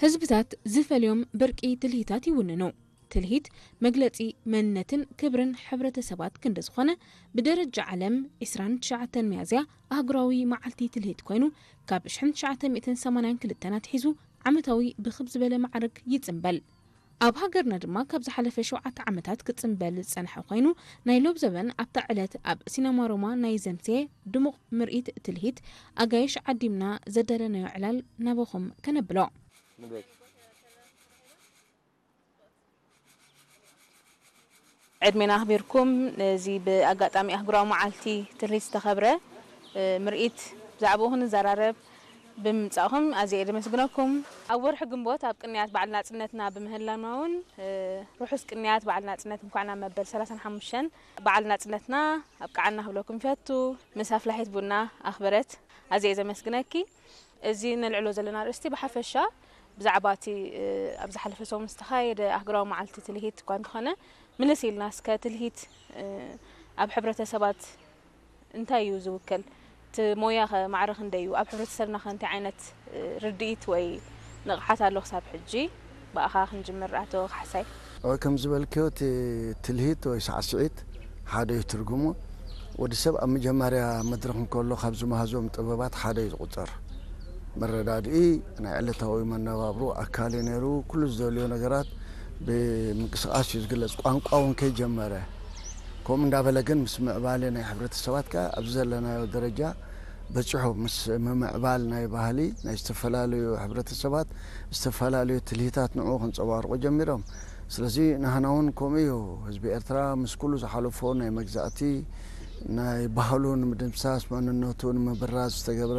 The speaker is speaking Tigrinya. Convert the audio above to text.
ህዝብታት ዝፈልዮም ብርቂ ትልሂታት ይውንኑ። ትልሂት መግለጺ መንነትን ክብርን ሕብረተሰባት ክንዲ ዝኾነ፣ ብደረጃ ዓለም ዕስራን ትሽዓተን ሚያዝያ ኣህጉራዊ መዓልቲ ትልሂት ኮይኑ፣ ካብ ሽሕን ትሽዓተ ሚእትን ሰማንያን ክልተን ኣትሒዙ ዓመታዊ ብኽብ ዝበለ ማዕርግ ይጽንበል። ኣብ ሃገርና ድማ ካብ ዝሓለፈ ሸውዓተ ዓመታት ክጽንበል ዝጸንሐ ኮይኑ፣ ናይ ሎብ ዘበን ኣብታ ዕለት ኣብ ሲነማ ሮማ ናይ ዘምስየ ድሙቕ ምርኢት ትልሂት ኣጋይሽ ዓዲምና ዘዳለናዮ ዕላል ናባኹም ከነብሎ። ዕድሜና ኣኽቢርኩም ነዚ ብኣጋጣሚ ኣህጉራዊ መዓልቲ ትልሂት ዝተኸብረ ምርኢት ብዛዕባኡ ክንዘራረብ ብምምጻእኹም ኣዝየ እየ ዘመስግነኩም። ኣብ ወርሒ ግንቦት ኣብ ቅንያት በዓል ናጽነትና ብምህላና እውን ርሑስ ቅንያት በዓል ናጽነት እንኳዕ ናብ መበል ሰላሳን ሓሙሽተን በዓል ናጽነትና ኣብቅዓና ክብለኩም ይፈቱ። ምስ ኣፍላሒት ቡና ኣኽበረት ኣዝየ እየ ዘመስግነኪ። እዚ ነልዕሎ ዘለና ኣርእስቲ ብሓፈሻ ብዛዕባ እቲ ኣብ ዝሓለፈ ሰሙን ዝተኻየደ ኣህጉራዊ መዓልቲ ትልሂት እኳ እንተኾነ፣ ምልስ ኢልና እስከ ትልሂት ኣብ ሕብረተሰባት እንታይ እዩ ዝውክል? እቲ ሞያ ኸ ማዕረ ክንደይ እዩ? ኣብ ሕብረተሰብና ኸ እንታይ ዓይነት ርድኢት ወይ ንቕሓት ኣሎ ክሳብ ሕጂ? ብኣኻ ክንጅምር ኣቶ ካሕሳይ። ኦ፣ ከም ዝበልክዮ እቲ ትልሂት ወይ ሳዕስዒት ሓደ እዩ ትርጉሙ። ወዲ ሰብ ኣብ መጀመርያ መድረኽ እንከሎ ካብ ዝመሃዞም ጥበባት ሓደ እዩ ዝቑጸር። መረዳድኢ ናይ ዕለታዊ መነባብሮ ኣካል እዩ ነይሩ። ኩሉ ዝደልዮ ነገራት ብምንቅስቓስ እዩ ዝግለጽ። ቋንቋ እውን ከይጀመረ ከምኡ እንዳበለ ግን ምስ ምዕባለ ናይ ሕብረተሰባት ከኣ ኣብዚ ዘለናዮ ደረጃ በጺሑ። ምስ ምምዕባል ናይ ባህሊ ናይ ዝተፈላለዩ ሕብረተሰባት ዝተፈላለዩ ትልሂታት ንዕኡ ከንጸባርቑ ጀሚሮም። ስለዚ ናህና እውን ከምኡ እዩ። ህዝቢ ኤርትራ ምስ ኩሉ ዝሓለፎ ናይ መግዛእቲ ናይ ባህሉ ንምድምሳስ መንነቱ ንምብራዝ ዝተገብረ